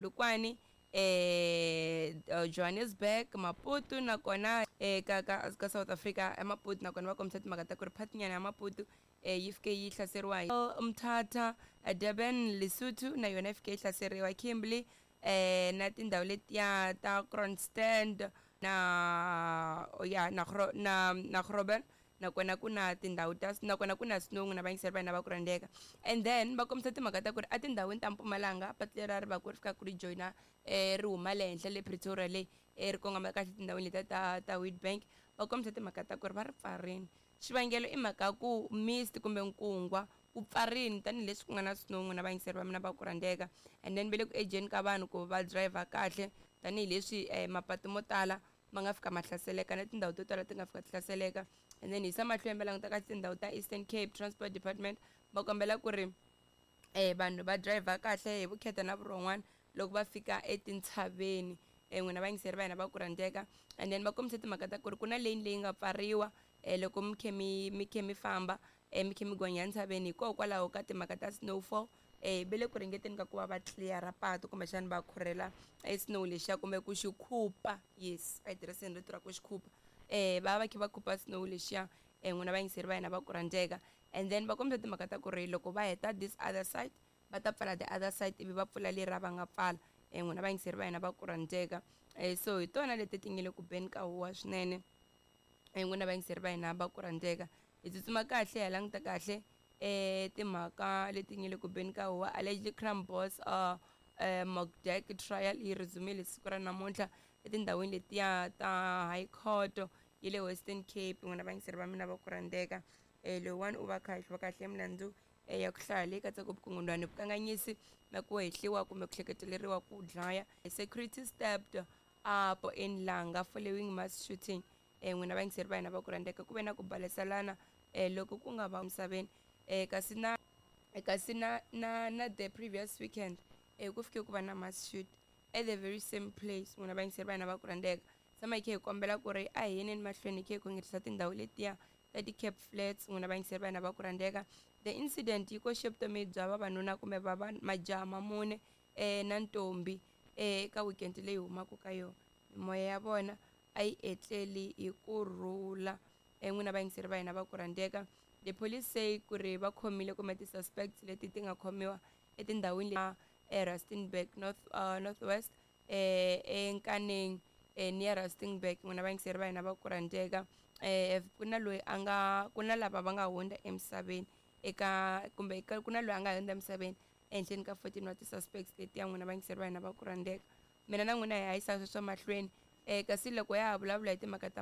Polokwane, Johannesburg, Maputo nakona ka ka ka South Africa eMaputo nakona va kombisa timhaka ta ku ri phatinyana ya Maputo yi fike yi hlaseriwa hi Mthatha, Durban, Lesotho na yona yi fike yi hlaseriwa Kimberley na tindhawu letiya ta Kroonstad na ya na na na Groben nakona ku na tindhawu ta nakona ku na snow n'wina vayingiseri va hina va ku rhandzeka. And then va kombisa timhaka ta ku ri etindhawini ta Mpumalanga patu leriya ri va ku ri fika ku ri joyina ri huma le henhla le Pretoria le ri kongoma kahle tindhawini letiya ta ta Witbank va kombisa timhaka ta ku ri va ri pfarini. Xivangelo i mhaka ya ku mist kumbe nkungwa wu pfarini tanihileswi ku nga na snow n'wina vayingiseri va mina va ku rhandzeka. And then va le ku ejeni ka vanhu ku va driver kahle tanihileswi mapatu mo tala ma nga fika ma hlaseleka na tindhawu to tala ti nga fika ti hlaseleka. And then hisa mahlweni va languta ka tindhawu ta Eastern Cape Transport Department va kombela ku ri vanhu va driver kahle hi vukheta na vurhon'wana loko va fika etintshaveni. N'wina vayingiseri va hina va ku rhandzeka. And then va kombisa timhaka ta ku ri ku na lane leyi nga pfariwa loko mi khe mi mi khe mi famba mi khe mi gonya entshaveni hikokwalaho ka timhaka ta snowfall. Va le ku ringeteni ka ku va va clear-a patu kumbexana va khurhela e snow lexiya kumbe ku xi khupa, yes a hi tirhiseni rito ra ku xi khupa. Va va kha va khupa snow lexiya n'wina vayingiseri va hina va ku rhandzeka. And then va kombisa timhaka ta ku ri loko va heta this other side va ta pfala the other side ivi va pfula leriya va nga pfala n'wina vayingiseri va hina va ku rhandzeka. So hi tona leti ti nga le ku beni ka huwa swinene n'wina vayingiseri va hina va ku rhandzeka. Hi tsutsuma kahle hi languta kahle timhaka leti nga le ku beni ka huwa. Allegedly crime boss Mokdek trial yi resumile siku ra namuntlha etindhawini letiya ta High Court ya le Western Cape n'wina vayingiseri va mina va ku rhandzeka. Loyiwani u va kha hehliwa kahle milandzu ya ku hlaya leyi katsaka vukungundwani, vukanganyisi na ku hehliwa kumbe ku hleketeleriwa ku dlaya. Security stepped up in Langa following mass shooting. N'wina vayingiseri va hina va ku rhandzeka, ku ve na ku baleselana loko ku nga va misaveni kasi na kasi na na na the previous weekend ku fike ku va na mass shoot at the very same place n'wina vayingiseri va hina va ku rhandzeka. Tshama hi kha hi kombela ku ri a hi yeneni mahlweni hi kha hi khongerisa tindhawu letiya ta ti-Cape Flats n'wina vayingiseri va hina va ku rhandzeka. The incident yi koxe vutomi bya vavanuna kumbe va majaha ma mune na ntombi eka weekend leyi humaka ka yona. Mimoya ya vona a yi etleli hi kurhula n'wina vayingiseri va hina va ku rhandzeka. The police say ku ri va khomile kumbe ti-suspects leti ti nga khomiwa etindhawini eRustenburg North Northwest eNkaneng near Rustenburg n'wina vayingiseri va hina va ku rhandzeka. Ku na loyi a nga ku na lava va nga hundza emisaveni eka kumbe ku na loyi a nga hundza emisaveni ehenhleni ka 14 wa ti-suspects letiya n'wina vayingiseri va hina va ku rhandzeka. Mina na n'wina hi hanyisa sweswo mahlweni kasi loko ya ha vulavula hi timhaka ta.